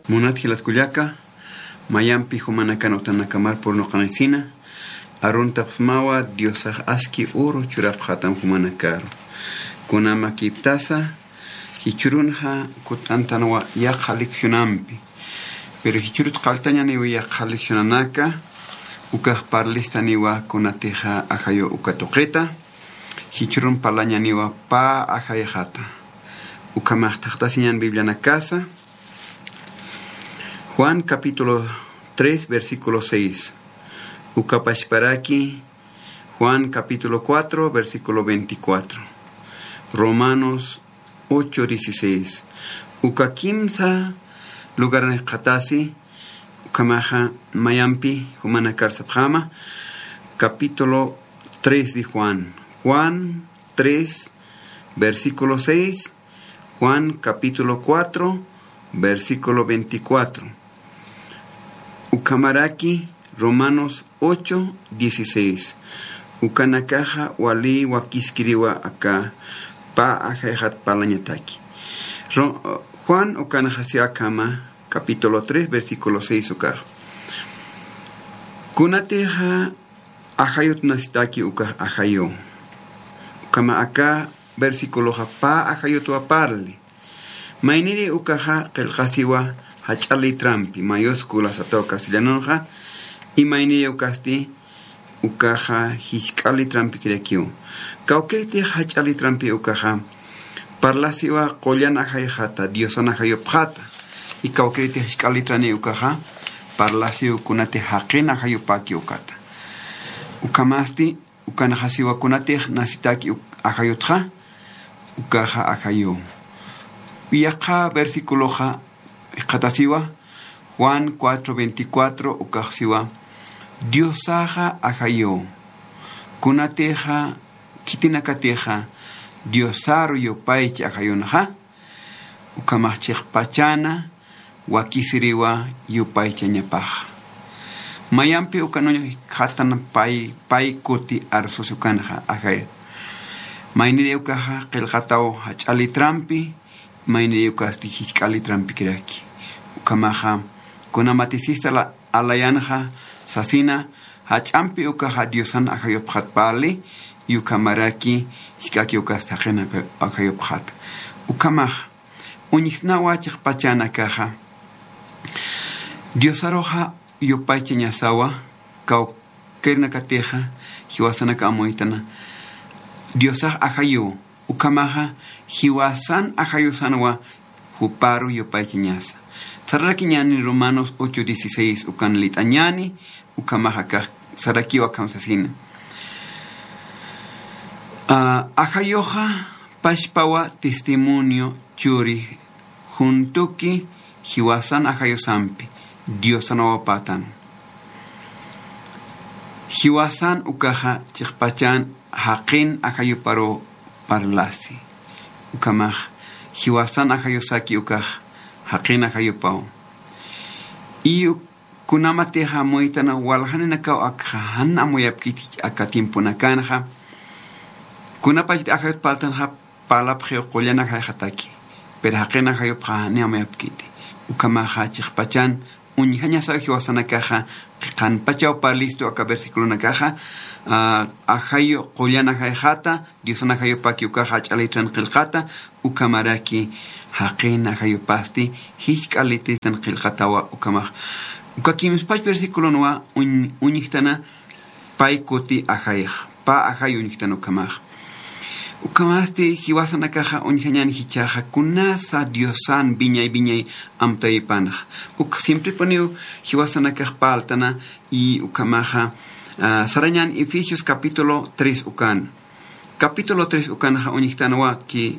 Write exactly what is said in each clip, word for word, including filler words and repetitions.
Munat jilat kullaka, mayampi jumanakan utanakamar purnuqanisina, aruntapxsmawa Diosax aski uru churapxatam jumanakaru. Kunamakiptasa, jichhürunxa kut'antanwa yaqha leccionampi. Pero jichhürut qalltañaniw yaqha leccionanaka, ukax parlistaniwa kunatixa ajayu uka tuqita, jichhürun parlañaniwa pä ajayxata. Ukhamax thaqtasiñan Biblianakasa, Juan capítulo tres, versículo seis. Uka pachparaki, Juan capítulo cuatro, versículo veinticuatro. Romanos ocho dieciséis. Uka kimsa lugaranakxatasi, ukhamaxa mayampi jumanakar sapxäma, capítulo tres de Juan. Juan tres, versículo seis, Juan capítulo cuatro, versículo veinticuatro. Ukhamaraki Romanos ocho dieciséis. Ukanakaxa wali wakiskiriwa aka pä ajayxat parlañataki. Ro-, Juan ukanxa si akhama, capítulo tres, versículo seis ukax. Kunatixa ajayut nasitaki ukax ajayu. Ukhama aka versiculoxa pä ajayutwa parli. Mayniri ukaxa qillqasiwa jach'a letrampi, mayúscula sataw castellanonxa, y mayniri ukasti ukaxa jisk'a letrampikirakiw. Kawkïritix jach'a letrampi ukaxa, parlasiwa qullan ajayxata, Diosan ajayupxata, y kawkïritix jisk'a letrani ukaxa, parlasiw kunatix jaqin ajayupaki ukata. Ukhamasti, ukanxasiwa kunatix nasitaki uk-, ajayutxa, ukaxa ajayu. Yaqha versiculoxa jikxatasiwa, Juan cuatro veinticuatro ukaxsiwa, Diosaxa ajayu. Kunatixa, khitinakatixa, Diosaru yupaychi ajayunxa, ukhamax chiqpachana, wakisiriwa yupaychañapaxa. Mayampi ukan uñjatan pay, pay kuti arsusi ukanxa, ajay. Mayniri ukaxa qillqataw jach'a letrampi, mayniri ukasti jisk'a letrampikiraki. Ukhamaxa, kunamatisista la, alayanxa, sasina, jach'ampi ukaxa Diosan ajayupxat parli, y ukhamaraki, jisk'aki ukasti jaqin ajayupxat. Ukhamaxa, uñjtnawa chiqpachanakaxa. Diosaruxa yupaychañasawa, kawkïrinakatixa, jiwasanaka amuytana. Diosax ajayu, ukhamaxa, jiwasan ajayusanwa, juparu yupaychañasa. Sararakiñani Romanos ocho dieciséis ukan lit'añani, ukhamaxa kax sarakiwa akham sasina. Ah, ajayuxa pachpawa testimonio churi juntuki jiwasan ajayusampi Diosan wawapätan. Jiwasan ukaxa chiqpachan jaqin ajayuparu parlasi. Ukhamax jiwasan ajayusaki ukax jaqin ajayupaw. Y uk-, kunamatixa amuytana waljaninakaw akxa jan amuyapkiti aka tiemponakanxa. Kunapachti ajayut parltanxa parlapxiw qullan ajayxataki. Pero jaqin ajayupxa jan amuyapkiti. Ukhamaxa chiqpachan uñjañasaw jiwasanakaxa, qhanpachaw parlistu aka versiculonakaxa, ah, ajayu qullan ajayxata, Diosan ajayupaki ukaxa jach'a letran qillqata, ukhamaraki jaqin ajayupasti, jisk'a letran qillqatawa ukhamax. Uka kimspach versiculonwa uñ-, uñjtana pay kuti ajayx, pä ajay uñjtan ukhamax. Ukhamasti jiwasanakaxa uñjañan jichhaxa kunasa Diosan wiñay wiñay amtawipanxa. Uk siemprepuniw jiwasanakax parltana y ukhamaxa, ah, sarañan Efesios capítulo tres ukan. Capítulo tres ukanxa uñjtanwa ki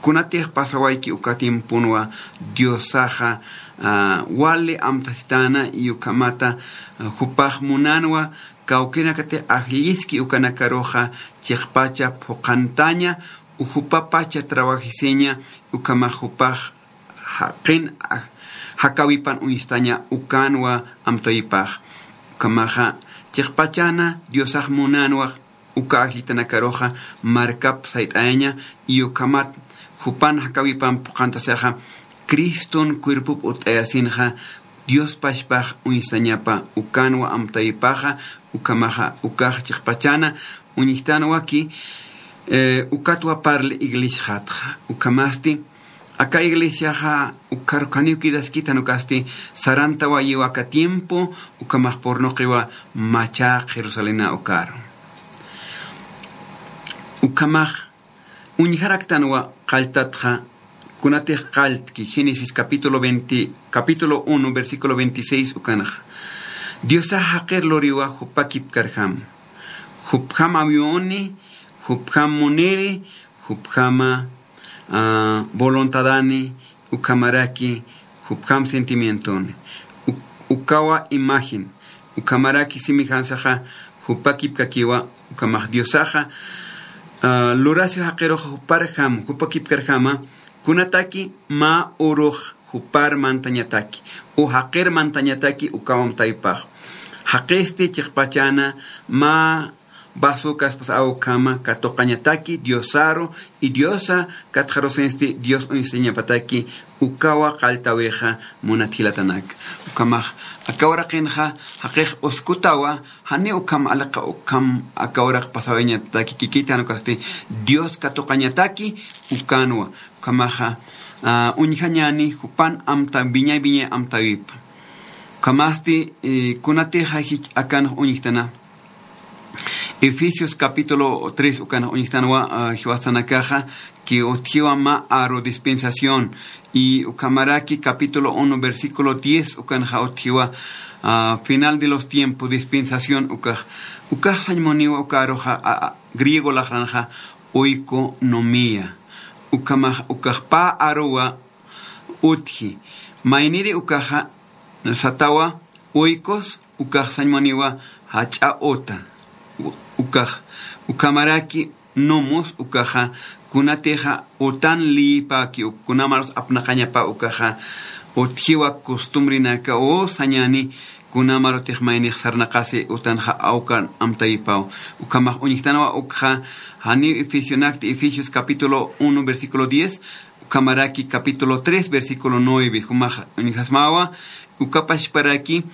kunatix pasawayki uka tiemponwa Diosaxa, ah, wali amtasitana y ukhamata, ah, jupax munanwa kawkïrinakatix ajlliski ukanakaruxa chiqpacha phuqhantaña, u jupapacha trabajisiña, ukhamax jupax jaqin, ah, jakawipan uñstaña ukanwa amtawipax. Ukhamaxa chiqpachana Diosax munanwa uka ajllitanakaruxa markap sayt'ayaña, y ukhamat jupan jakawipan phuqhantasixa Criston cuerpop urt'ayasinxa Dios pachpax uñstañapa, ukanwa amtawipaxa. Ukhamaxa ukax chiqpachana uñjtanwaki, eh, ukatwa parli iglesiaxatxa. Ukhamasti aka iglesiaxa ukar janiw quedaskit jan ukasti, sarantawayiwa aka tiempo, ukhamax purnuqiwa machaq Jerusalena ukaru. Ukhamax uñjaraktanwa qalltatxa, kunatix qalltki Génesis capítulo veinte, capítulo uno, versículo veintiséis ukanxa. Diosax jaqir luriwa jupa kipkarjam. Jupjam amuyuni, jupjam muniri, jupjama, ah, voluntadani, ukhamaraki jupjam sentimientoni. U-, ukawa imagen, ukhamaraki semejanzaxa jupa kipkakiwa. Ukhamax Diosaxa, ah, lurasiw jaqirux juparjam, jupa kipkarjama, kunataki mä urux jupar mantañataki, u jaqir mantañataki ukaw amtawipax. Jaqisti chiqpachana mä vaso kaspas awkhama katuqañataki Diosaru, y Diosa katxarusinsti Dios uñstañapataki ukawa qalltawixa munat jilatanak. Ukhamax aka uraqinxa jaqix uskutawa, jani ukham aliqa ukham aka uraq pasawiñataki kikit jan ukasti Dios katuqañataki ukanwa. Ukhamaxa, ah, uñjañani jupan amta wiñay wiñay amtawipa. Ukhamasti, eh, kunatixa jich akanx uñjtana. Efesios capítulo tres ukanx uñjtanwa, ah, jiwasanakaxa, que utjiwa mä aru dispensación, y ukhamaraki capítulo uno, versículo diez ukanxa utjiwa, ah, final de los tiempos, dispensación ukax. Ukax sañ muniwa uka aruxa, a, a, griego laxranxa oikonomía. Ukhamax, ukax pä aruwa utji. Mayniri ukaxa satawa oikos, ukax sañ muniwa jach'a uta. U-, ukax, ukhamaraki nomos ukaxa, kunatixa utan liyipaki, u-, kunamarus apnaqañapa ukaxa, utjiwa costumbrenaka u sañani, kunamarutix maynix sarnaqasi utanxa awkan amtawipaw. Ukhamax uñjtanwa ukxa, janiw Efesionakti, Efesios capítulo uno, versículo diez, ukhamaraki capítulo tres, versículo nueve, jumax uñjasmawa, uka pachparaki,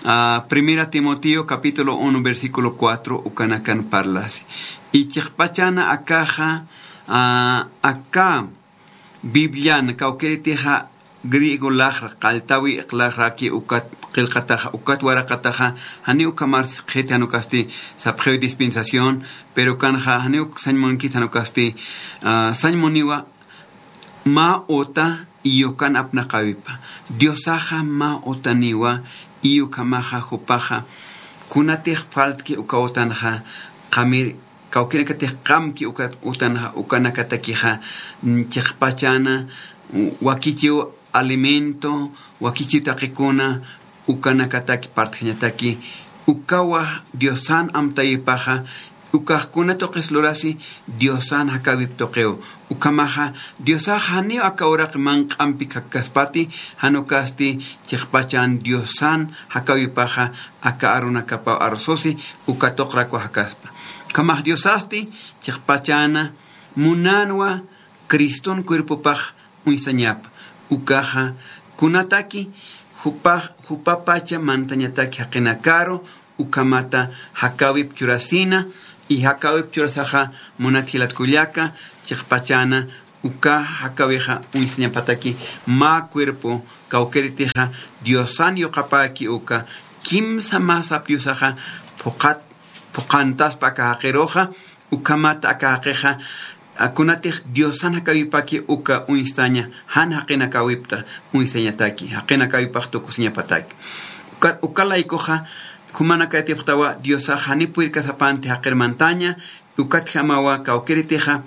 ah, Primera Timoteo capítulo uno, versículo cuatro, ukanakan parlasi. Y chiqpachana akaxa, ah, aka Biblian, kawkïritixa griego laxra, qalltawi laxraki ukat qillqataxa, ukat waraqataxa, janiw ukhamar siqhiti jan ukasti sapxiw dispensación, pero ukanxa janiw sañ munkiti jan ukasti, ah, sañ muniwa mä uta iyukan apnaqawipa. Diosaxa mä utaniwa, iyukhamaxa jupaxa, kunatix faltki uka utanxa, qamir, kawkïrinakatix qamki uka utanxa, ukanakatakixa, mm, chiqpachana, wakichiw alimento, wakichiw taqikuna, ukanakataki partjañataki, ukawa Diosan amtawipaxa, ukax kuna tuqis lurasi, Diosan jakäwip tuqiw. Ukhamaxa, Diosax janiw aka uraq manq'ampi jakkaspati, jan ukasti chiqpachan Diosan jakäwipaxa, aka arunakapaw arususi, uka tuqrakwa jakaspa. Ukhamax Diosasti, chiqpachana, munänwa, Criston cuerpopax uñstañapa. Ukaxa, kunataki, jupax, jupapacha mantañataki jaqinakaru, ukhamata jakäwip churasina, y jakäwip churasaxa munat jilat kullaka, chiqpachana, uka jakäwixa uñstañapataki mä cuerpo, kawkïritixa, Diosan yuqapäki uka, kimsa mä sap Diosaxa, phuqat, phuqantaspa aka jaqiruxa, ukhamata aka jaqixa, a, kunatix Diosan jakäwipaki uka uñstaña, jan jaqinakäwipta uñstañataki, jaqinakäwipax tukusiñapataki. Uka, uka laykuxa, jumanakatipxtawa Diosax janiw purirkasapanti jaqir mantaña, ukatjamawa kawkïritixa,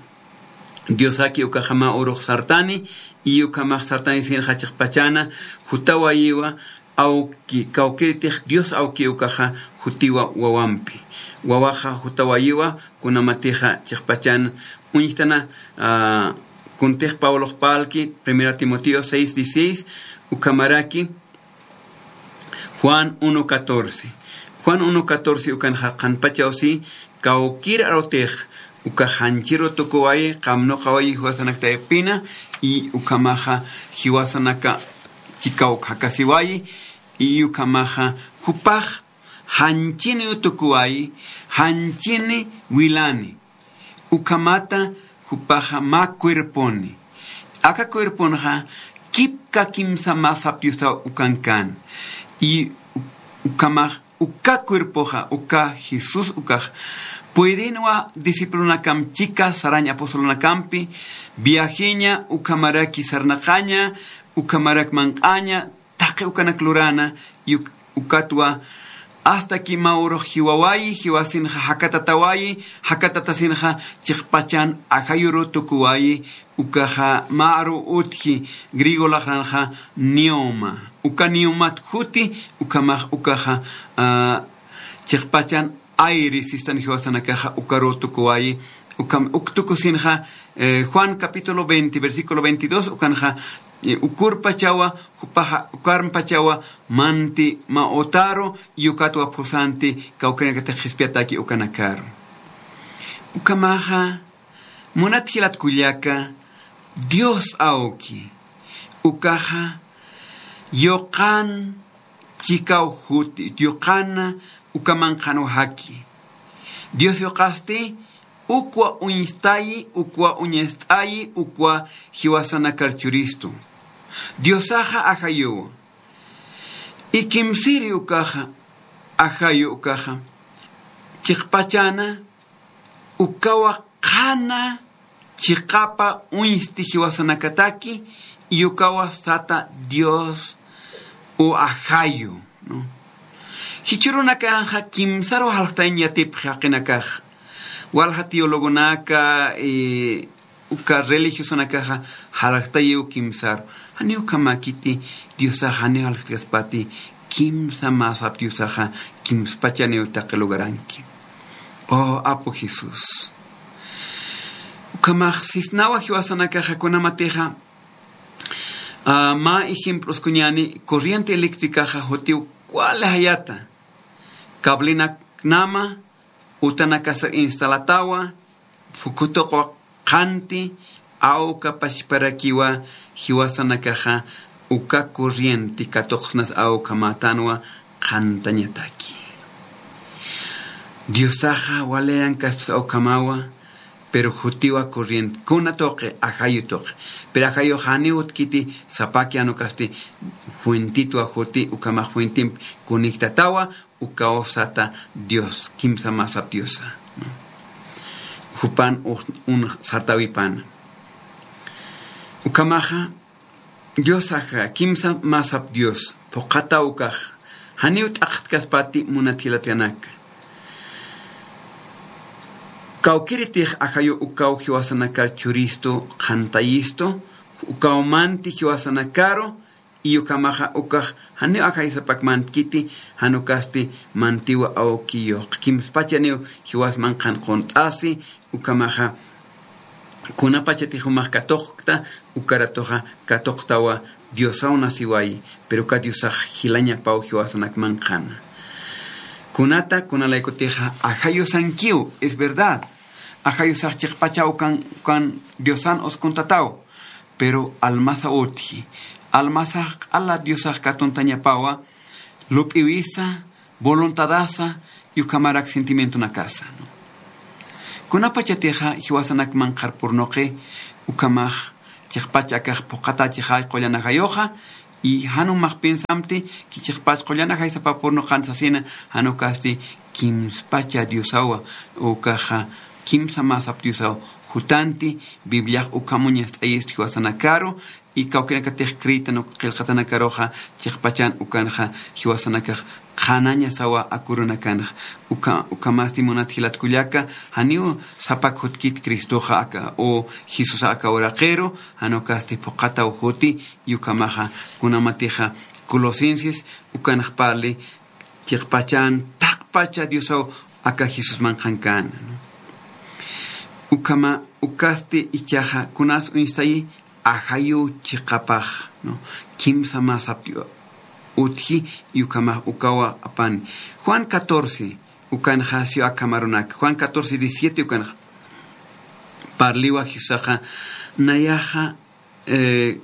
Diosaki ukaxa mä urux sartani, y ukhamax sartanisinxa chiqpachana, jutawayiwa, awki, kawkïritix Dios awki ukaxa jutiwa wawampi. Wawaxa jutawayiwa, kunamatixa chiqpachan uñjtana, ah, kuntix Pablox parlki, Primera Timoteo seis dieciséis, ukhamaraki Juan uno catorce. Juan uno catorce ukanxa qhanpachawsi, kawkïr arutix, ukax janchiru tukuwayi, qamnuqawayi jiwasanakta ipina, Y ukhamaxa jiwasanaka chikaw jakasiwayi, y ukhamaxa jupax janchini utukuwayi, janchini wilani. Ukhamata jupaxa mä cuerponi. Aka cuerponxa kipka kimsa mä sap Diosaw ukankan. Y u-, ukhamax uka cuerpoxa, uka Jesús ukax, puedinwa discipulonakam chika sarañ apostolunakampi viajeña, ukhamaraki sarnaqaña, ukhamarak manq'aña, taqi ukanak lurana, y uk-, ukatwa hasta que mä urux jiwawayi, jiwasinxa jakatatawayi, jakatatasinxa chiqpachan ajayuru tukuwayi, ukaxa mä aru utji griego laqranxa pneuma. Uka pneumat juti, ukhamax ukaxa, ah, chiqpachan aire sistan jiwasanakaxa ukaru tukuwayi, ukham uk tukusinxa, eh, Juan capítulo veinte, versículo veintidós, ukanxa, eh, ukurpachawa, jupaxa ukarmpachawa, manti mä utaru, y ukatwa phusanti, kawkinakatix qhispiyataki ukanakaru. Ukhamaxa, munat jilat kullaka, Dios awki, ukaxa, yuqan chikaw juti, yuqana uka manqhanwa jaki. Dios yuqasti, ukwa uñstayi, ukwa uñst'ayi, ukwa jiwasanakar churistu. Diosaxa ajayuwa. Y kimsiri ukaxa, ajayu ukaxa, chiqpachana, ukawa qhana chiqapa uñsti jiwasanakataki, y ukawa sata Dios u ajayu, ¿no? Jichhürunakanxa kimsaru jalxtañ yatipxi jaqinakax. Walja teologonaka, eh, uka religiosanakaxa jalxtayiw kimsaru. Janiw ukhamäkiti Diosaxa janiw jalxtkaspati kimsa mä sap Diosaxa kimspachaniw taqi lugaranki. Oh, Apu Jesús. Ukhamax sisnawa jiwasanakaxa kunamatixa, ah, mä ejemploskuñäni corriente eléctricaxa jutiw wali jayata. Cablenaknama, utanakasar instalatawa, phukutuqwa qhanti, awka pachparakiwa jiwasanakaxa uka corriente katuqsnas awka mätanwa qhantañataki. Diosaxa wali llankaspas awkamawa, pero jutiwa corriente, kuna tuqi, ajayu tuqi. Pero ajayux janiw utkiti sapaki jan ukasti fuentitwa juti, ukhamax fuentimpi conectatawa, ukaw sata Dios, kimsa mä sap Diosa, ¿no? Jupan ux-, un sartawipana. Ukhamaxa, Diosaxa, kimsa mä sap Dios, phuqhataw ukax, janiw t'aqtkaspati munat jilatkanaka. Kawkiritix ajayu ukaw jiwasanakar churistu, qhantayistu, ukaw manti jiwasanakaru, y ukhamaxa ukax janiw ajaysapak mantkiti, jan ukasti mantiwa awkiyux. Kimspachaniw jiwas manqhan qunt'asi, ukhamaxa kunapachatix jumax katuqkta, ukaratuxa katuqtawa Diosaw nasiwayi, pero uka Diosax jilañapaw jiwasanak manqhana. Kunata, kunalaykutixa ajayusankiw, es verdad. Ajayusax chiqpachaw kan, kan Diosan uskuntataw, pero almasa utji. Almasax q'ala Diosax katuntañapawa, lup'iwisa, voluntadasa, y ukhamarak sentimientonakasa, ¿no? Kunapachatixa jiwasanak manqhar purnuqi, ukhamax chiqpach akax phuqhatachixay qullan ajayuxa, y jan jumax pensamti, chiqpach qullan ajay sapa purnuqan sasina, jan ukasti kimspacha Diosawa, ukaxa kimsa mä sap Diosaw jutanti, Bibliax ukham uñast'ayist jiwasanakaru, y kawkinakatix creyitan uk qillqatanakaruxa, chiqpachan ukanxa jiwasanakax qhanañasawa aka urunakanxa. Uka, ukhamasti munat jilat kullaka, janiw sapak jutkit Cristoxa aka, o Jesusa aka uraqiru, jan ukasti phuqhataw juti, y ukhamaxa, kunamatixa, Colosenses, ukanx parli, chiqpachan, taqpacha Diosaw aka Jesús manqhankan, ¿no? Ukhama, ukasti ichaxa, kunas uñstayi, ajayu chiqapax, ¿no? Kimsa mä sap Dio-, utji, y ukhamax ukawa apani. Juan catorce, ukanxa siw akham arunak. Juan catorce diecisiete ukanxa. Parliwa Jesusaxa, nayaxa, Eh,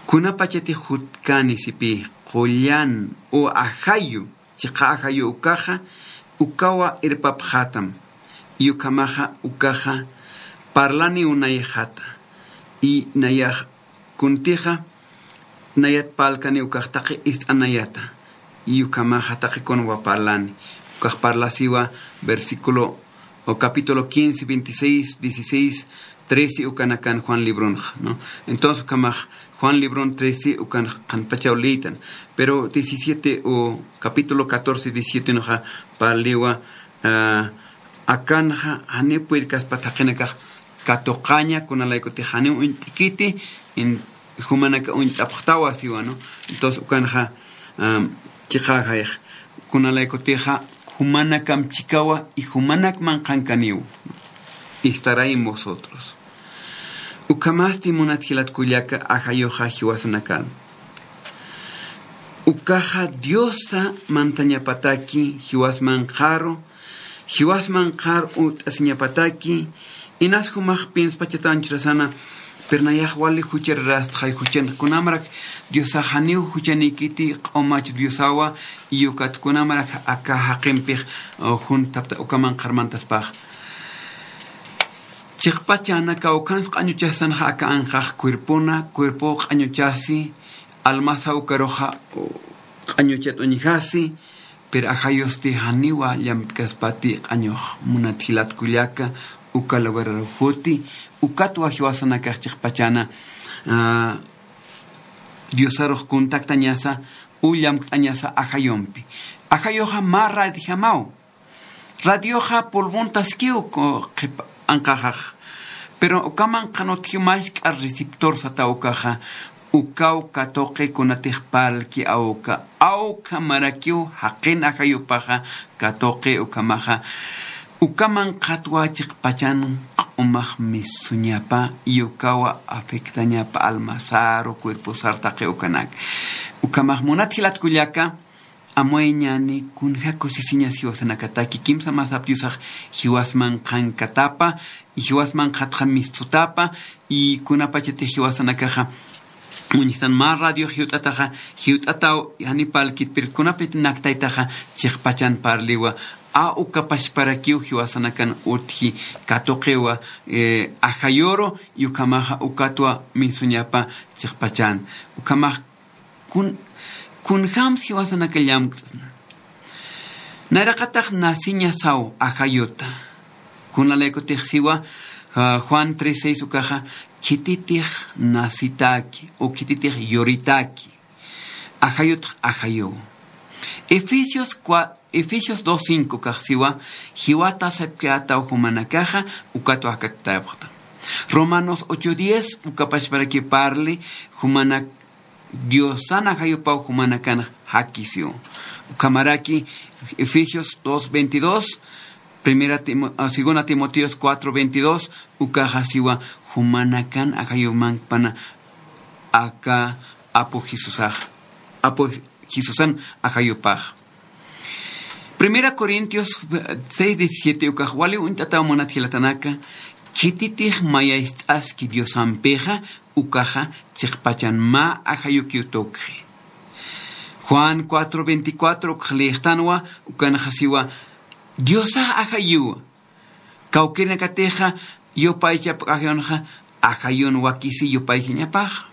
kunapachatix jutkani sipï, qullan u ajayu, chiqa ajayu ukaxa, ukawa irpapxätam, y ukhamaxa ukaxa parlani nayxata, y nayax kuntixa nayat parlkani ukax taqi ist'anayata, y ukhamaxa taqi kunwa parlani, ukax parlasiwa versículo o capítulo quince, veintiséis, dieciséis, trece ukanakan Juan libronxa, ¿no? Entonces, ukhamax Juan libron trece ukan qhanpachaw liytan, pero diecisiete o capítulo catorce, diecisiete nuxa parliwa, ah, akanxa janiw puyrkaspat jaqinakax katuqaña, kunalaykutix janiw uñt'kiti, in-, jumanaka uñt'apxtawa siwa, ¿no? Entonces, ukanxa, am, chiqaxayx, kunalaykutixa, jumanakam chikawa, y jumanak manqhankaniw, estará en vosotros. Ukhamasti munat jilat kullaka ajayuxa jiwasanakan. Ukaxa Diosa mantañapataki, jiwas manqharu, jiwas manqhar uñt'asiñapataki, inas jumax pinspachatan churasana, pero nayax wali juchararastxay, juchan kunamarak Diosax janiw juchanikiti q'umach Diosawa, y ukat kunamarak aka jaqimpix, uh, junthapta uka manqhar mantaspax. Chiqpachana kawkhans q'añuchasanxa aka anqax cuerpona, cuerpo q'añuchasi, almasaw ukaruxa, uh, q'añuchat uñjasi, pero ajayusti janiwa llamtkaspati q'añux munat jilat kullaka, uka lugararuxuti, ukatwa jiwasanakax chiqpachana, ah, Diosarux contactañasa, u llamt'añasa ajayumpi. Ajayuxa mä radijamaw. Radioxa pulmontaskiw ku-, qhip anqaxax. Pero ukaman qhanutjiw mask'a receptor sataw ukaxa, ukaw katuqi kunatix parlki awka, awkha marakiw jaqin ajayupaxa katuqi ukhamaxa, ukaman qhatwa chiqpachan q'umax misuñapa, y ukawa afectañapa almasaru, cuerposar taqi ukanak. Ukhamax munat jilat kullaka, amuyañäni kunja kusisiñas jiwasanakataki, kimsa masap Diosax jiwasman qhankatapa, y jiwasman qhatxa mistsutapa, y kunapachatix jiwasanakaxa, uñjtan mä radiox jiwt'ataxa, jiwt'ataw jani parlkit, pero kunapachatix naktaytaxa, chiqpachan parliwa, a uka pachparakiw jiwasanakan utji katuqiwa, eh, ajayuru, y ukhamaxa ukatwa misuñapa chiqpachan. Ukhamax kun, kunjams jiwasanaka llamk'sna. Nayraqatax nasiñasaw ajayuta. Kunalaykutix siwa, ah, Juan tres seis ukaxa, khititix nasitaki, o khititix yuritaki. Ajayutx ajayuw. Efesios cua-, Efesios dos cinco ukax siwa, jiwata sapkiyätaw jumanakaxa, ukatwa jakatayapxta. Romanos ocho diez, uka pachparaki parli, jumanak Diosan ajayupaw jumanakan jakisiw. Ukhamaraki Efesios dos veintidós, primera Timo-, ah, segunda Timoteos cuatro veintidós, ukaxa siwa jumanakan ajayumankpana aka Apu Jesusax, Apu Jesusan ajayupax. Primera Corintios seis diecisiete ukax wali uñt'ataw munat jilatanaka, khititix mayacht'aski Diosampixa, ukaxa chiqpachan mä ajayukiw tukxi. Juan cuatro veinticuatro ukax liyxtanwa, ukanxa siwa, Diosax ajayuwa. Kawkïrinakatixa yupaychapk'ajayunxa, ajayun wakisi yupaychañapaxa.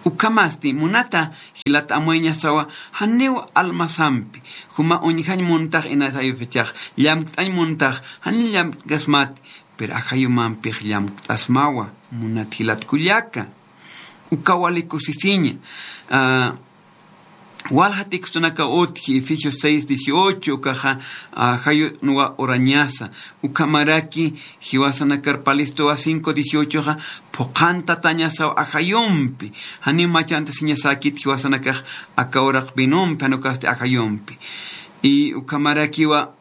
Ukhamasti, munata jilat amuyañasawa, janiw almasampi, juma uñjañ muntax inas ayupachax, llamkt'añ muntax, janiw llamktasmat, pero ajayumampix llamkt'asmawa, munat jilat kullaka. Uka wali kusisiña, ah, Walja textonaka utji, Efesios seis dieciocho, ukaxa, ah, ajayunwa urañasa. Ukhamaraki, jiwasanakar parlistuwa cinco dieciochoxa, phuqhantatañasaw ajayumpi. Janiw machantasiñasäkit jiwasanakax aka uraq vinompi, jan ukasti ajayumpi. Y ukhamarakiwa,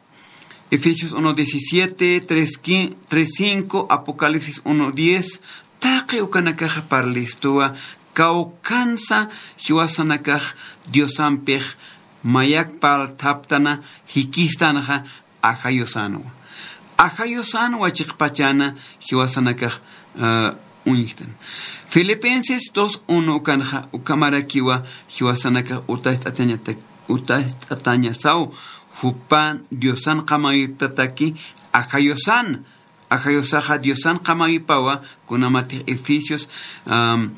Efesios uno diecisiete, tres quin-, tres cinco, Apocalipsis uno diez, taqi ukanakaxa parlistuwa, kawkhansa jiwasanakax Diosampix mayak parlthaptana jikistanxa ajayusanwa. Ajayusanwa chiqpachana jiwasanakax, eh, uñjtan. Filipenses dos uno ukanxa, ukhamarakiwa jiwasanakax utacht'atañata-, utacht'atañasaw, jupan Diosan qamawiptataki, ajayusan, ajayusaxa Diosan qamawipawa, kunamatix Efesios, am,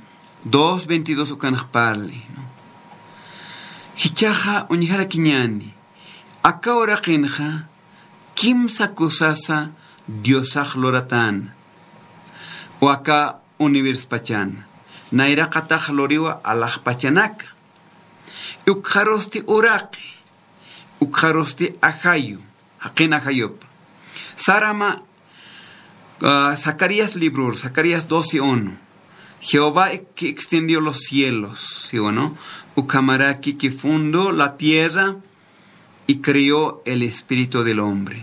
dos veintidós ukanx parli, ¿no? Jichhaxa uñjarakiñäni, aka uraqinxa kimsa kusasa Diosax luratäna, o aka universospachan, nayraqatax luriwa alaxpachanaka. Ukxarusti uraqi, ukxarusti ajayu, jaqin ajayupa. Sarama, ah, Zacarías librur, Zacarías doce uno. Jehová que extendió los cielos, ¿sí o no? Ukhamaraki que fundó la tierra y creó el espíritu del hombre.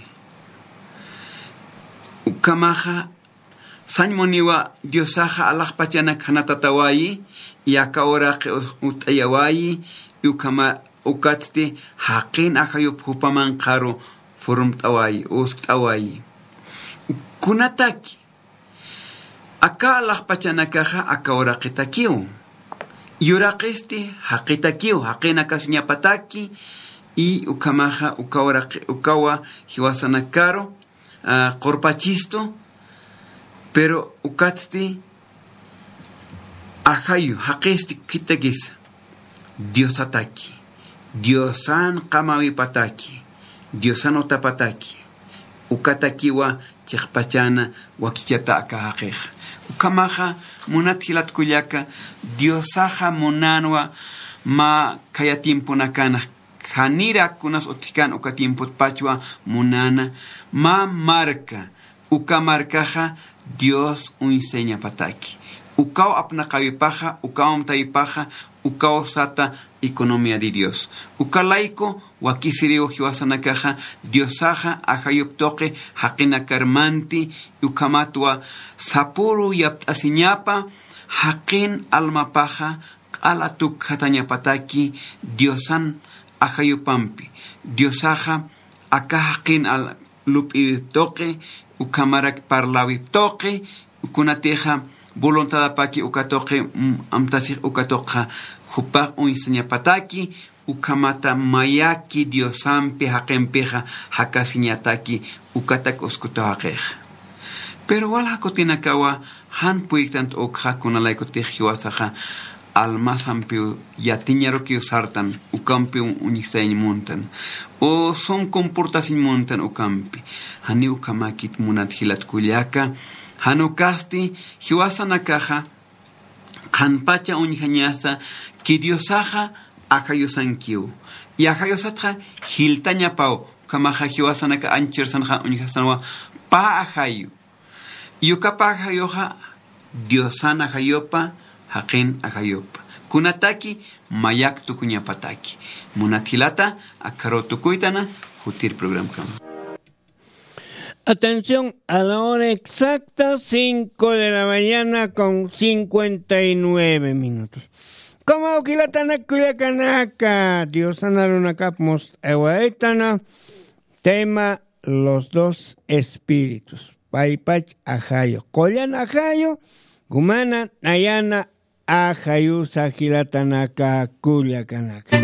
Ukhamaxa, sañ muniwa Diosaxa alaxpachanak janatatawayi, y aka uraqi us-, utt'ayawayi, y ukhama ukatsti jaqin ajayup jupamanqaru furumt'awayi, uskt'awayi. Kunataki, aka alaxpachanakaxa aka uraqitakiw. Yuraqisti jaqitakiw, jaqinakasiñapataki, y ukhamaxa uka uraqi-, ukawa jiwasanakaru, ah, qurpachistu, pero ukatsti ajayu, jaqisti khitakisa. Diosataki, Diosan qamawipataki, Diosan utapataki, ukatakiwa chiqpachana wakichata aka jaqixa. Ukhamaxa, munat jilat kullaka, Diosaxa munanwa mä khaya tiemponakanax, janira kunas utjkan uka tiempotpachwa munana, mä marka, uka markaxa Dios uñsañapataki. Ukaw apnaqawipaxa, ukaw amtawipaxa, ukaw sata economía de Dios. Uka layku wakisiriw jiwasanakaxa, Diosaxa ajayup tuqi jaqinakar manti, ukhamatwa sapüru yapt'asiñapa, jaqin almapaxa q'ala tukjatañapataki Diosan ajayupampi. Diosaxa aka jaqin al-, lup'iwip tuqi, ukhamarak parlawip tuqi, kunatixa voluntadapaki uka tuqi, mm, amtasix uka tuqxa jupax uñsañapataki, ukhamata mayaki Diosampi jaqimpixa jakasiñataki, ukatak uskutaw jaqixa. Pero walja kutinakawa jan puyiktant ukxa, kunalaykutix jiwasaxa almasampiw yatiñarukiw sartan, ukampiw uñjsañ muntan, o sum comportasiñ muntan ukampi. Janiw ukhamäkit munat jilat kullaka, jan ukasti jiwasanakaxa qhanpacha uñjañasa que Diosaxa ajayusankiw. Y ajayusatxa jiltañapaw, ukhamaxa jiwasanaka anchhirsanxa uñjasanwa pä ajayu. Y uka pä ajayuxa Diosan ajayupa, jaqin ajayupa. Kunataki mayak tukuñapataki. Munat jilata, akharuw tukuytana, jutir programkama. Atención, a la hora exacta, cinco de la mañana con cincuenta y nueve minutos. Como jilatanaka kullakanaka, Diosan arunakap must'awaytana, tema, los dos espíritus. Paypach ajayu, qullan ajayu, kumana nayana ajayusa jilatanaka kullakanaka.